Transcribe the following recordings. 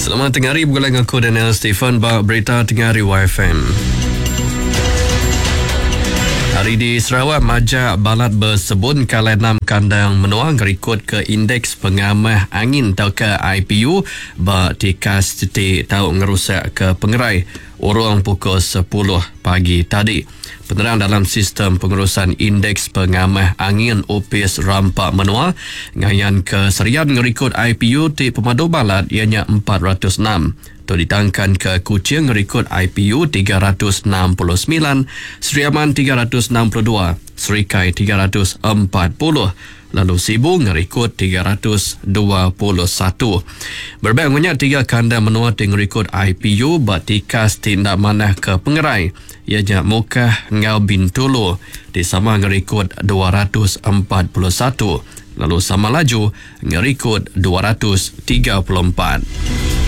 Selamat tengah hari begulai enggau aku Daniel Stephen ba berita tengah hari YFM. Hari di Sarawak majak balat besebun kalai enam kandang menua ngerikod ke Indeks Pengamah Angin tauka IPU ba tikas ti tau ngerusak ke pengerai urung pukul sepuluh pagi tadi. Penerang dalam Sistem Pengurusan Indeks Pengamah Angin Opis Rampa Menua ngayanka Serian ngerikod IPU ti pemadu balat iya nya 406. Tu ditangkanka Kuching ngerikod IPU 369, Sri Aman 362, Serikai 340 lalu Sibu ngerikod 321. Berebak enggau nya, tiga kandang menua ti ngerikod IPU ba tikas ti enda manah ke pengerai iya nya Mukah enggau Bintulu ti sama ngerikod 241 lalu Samalaju ngerikod 234.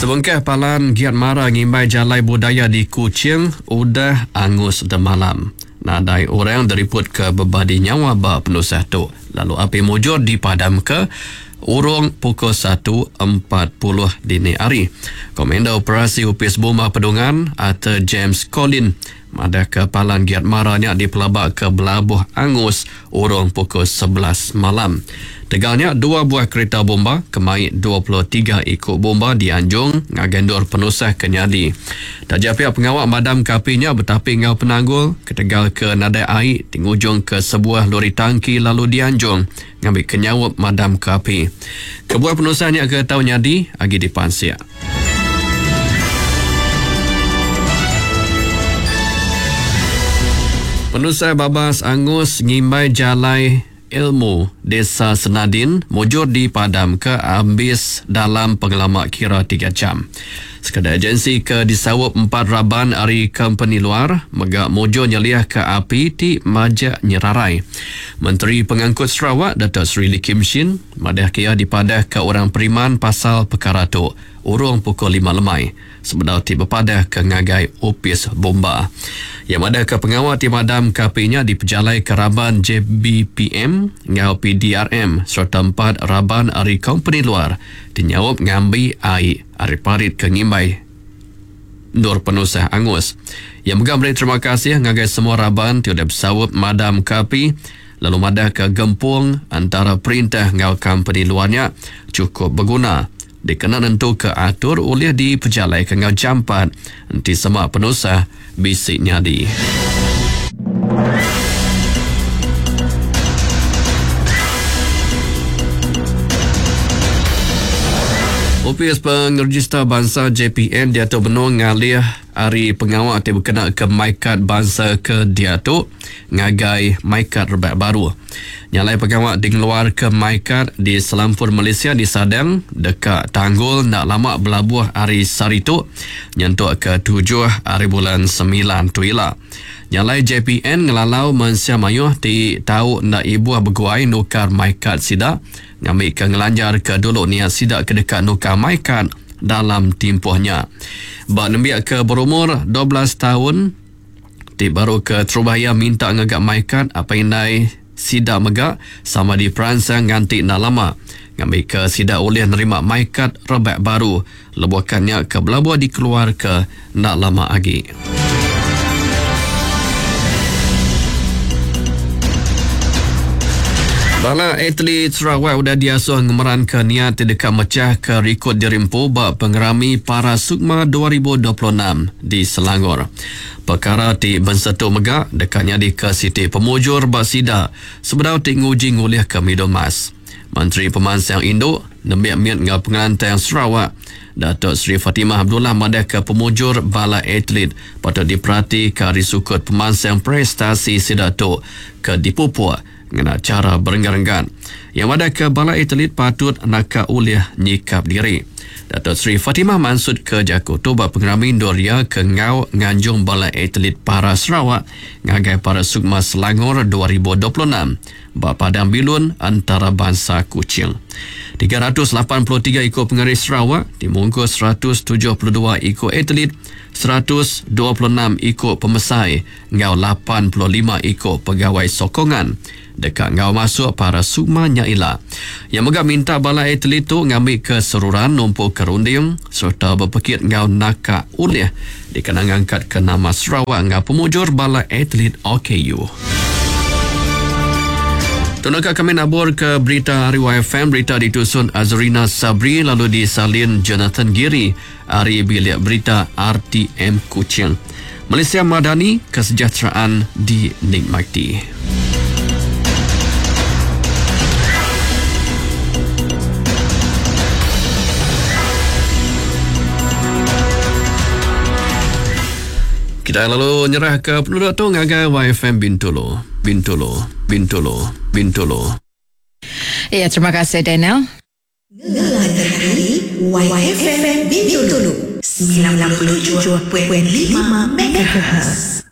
Sebengkah palan Giat Mara ngimbai Jalai Budaya di Kuching udah angus demalam. Nadai orang diripotka bebadi nyawa ba penusah tu lalu api mujur dipadamka urung pukul satu 40 dini hari. Komander Operasi Opis Bomba Pedungan Arthur James Collin Madahka palan Giat Mara nya dipelabaka belabuh angus urung pukul 11 malam. Tegal nya, dua buah kerita bomba ke mai 23 iku bomba dianjung ngagai endur penusah ke nyadi. Taja pia pengawa madamka api nya betapi enggau penanggul ketegal ke nadai ai ti ngujungka sebuah lori tangki lalu dianjung ngambika nyaup madamka api. Kebuah penusah nya ke tau nyadi agi dipansik. Penusah babas angus ngimbai jalai Ilmu Desa Senadin mujur dipadamka ambis dalam pengelama kira tiga jam. Sekeda agensi ke disaup empat raban ari kompeni luar mega mujur nyeliahka api ti majak nyerarai. Menteri Pengangkut Sarawak Datuk Seri Lee Kim Shin Madahka iya dipadahka orang periman pasal pekara tu urung pukul 5 lemai sebedau ti bepadahka ngagai Opis Bomba. Iya madahka pengawa ti madamka api nya dipejalaika raban JBPM enggau PDRM sereta empat raban ari kompeni luar ti nyaup ngambi ai ari parit ke ngimbai endur penusah angus. Iya mega meri terima kasih ngagai semua raban ti udah besaup madamka api lalu madahka gempung entara perintah enggau kompeni luar nya chukup beguna dikena nentuka atur ulih dipejalaika enggau jampat enti sema penusah bisi nyadi. Opis Pengerejista Bansa JPN diatu benung ngalih ari pengawa ti bekenaka MyKad bansa ke diatu ngagai MyKad rebak baru. Nya alai pengawa ti ngeluarka MyKad di selampur Malaysia disadang deka tanggul enda lama belabuh ari sehari tu nyentuk ke tujuh ari bulan semilan tu ila. Nya alai JPN ngelalau mensia mayuh ti tau enda ibuh beguai nukar MyKad sida ngambika ngelanjarka dulu niat sida ke deka nukar MyKad dalam timpuh nya. Ba nembiak ke berumur 12 taun, Ti baru ke terubah iya minta ngaga MyKad apai indai sida mega sama diperansang nganti enda lama ngambika sida ulih nerima MyKad rebak baru lebuh kad nya ke belabuh dikeluarka enda lama agi. Bala atlet Sarawak udah diasuh ngemeranka niat ti deka mechahka rikod diri empu ba Pengerami Para Sukma 2026 di Selangor. Pekara ti bensetu mega deka nyadika siti pemujur ba sida sebedau ti nguji ngulihka midul mas. Menteri Pemansang Indu, Nembiak Mit enggau Pengelantang Sarawak, Datuk Seri Fatimah Abdullah madahka pemujur bala atlet patut diperatika ari sukut pemansang prestasi sida tu ke dipupuk ngena chara berenggat-renggat. Iya madahka bala atlet patut naka ulih nyikap diri. Datuk Seri Fatimah mansutka jaku tu ba pengerami endur iya ke enggau nganjung bala atlet para Sarawak ngagai Para Sukma Selangor 2026 ba Padang Bilun Entarabansa Kuching. 383 iku pengari Sarawak ti mungkus 172 iku atlet. 126 iku pemesai enggau 85 iku pegawai sokongan deka enggau masuk para sukma nya ila. Iya mega minta bala atlet tu ngambika seruran numpuka runding sereta bepekit enggau naka ulih dikena ngangkatka nama Sarawak enggau pemujur bala atlet OKU. Tu naka kami naburka berita ari YFM, berita ditusun Azrina Sabri lalu disalin Jonathan Giri ari bilik berita RTM Kuching. Malaysia Madani, kesejahteraan dinikmati. Kita lalu nyerah ke penduduk tu ngagai YFM Bintulu, Bintulu, Bintulu, Bintulu. Ya, terima kasih Daniel. Ngelantang YFM Bintulu 97.5 MHz.